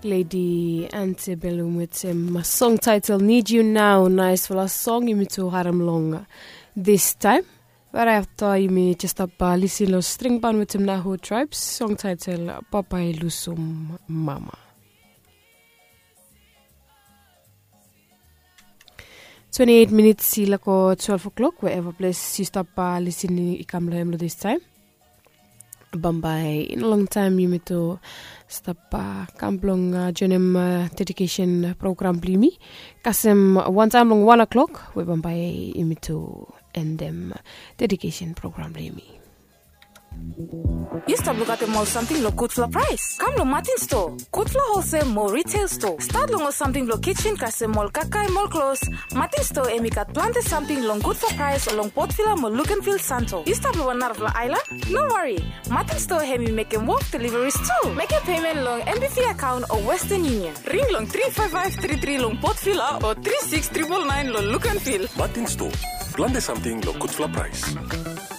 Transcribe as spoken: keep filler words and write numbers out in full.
Ledi Antebellum wetem song title Need You Now. Naisfala song yumi tu harem long this time. Right after yumi just stap lisin long String Band wetem Nahu Tribes, song title Papa I Lusum Mama. Twenty eight minits i lako twelve o'clock, wherever ples yu stap lisin i kam long hem long this time. Bambae i no longtaem yumi tu stap kam blong joinim dedikesen program blong yumi kasem wantaem long wan o'clock we bambae yumi tu endem dedikesen program blong yumi. Yu stap lukaotem ol samting long gudfala praes? Kam long Martin Store, gudfala holsel mo retail store. Stat long ol samting blong kitchen kasem ol kakae mo ol klos. Martin Store hem i gat plante samting long gudfala praes long Port Vila mo Luganville Santo. Yu stap long wan narafala aelan? No wari. Martin Store hem i mekem wok deliveries tu. Mekem pemen long M B V akaon o Western Union. Ring long three five five three three long Port Vila o three six triple nine long Luganville. Martin Store, plante samting long gudfala praes.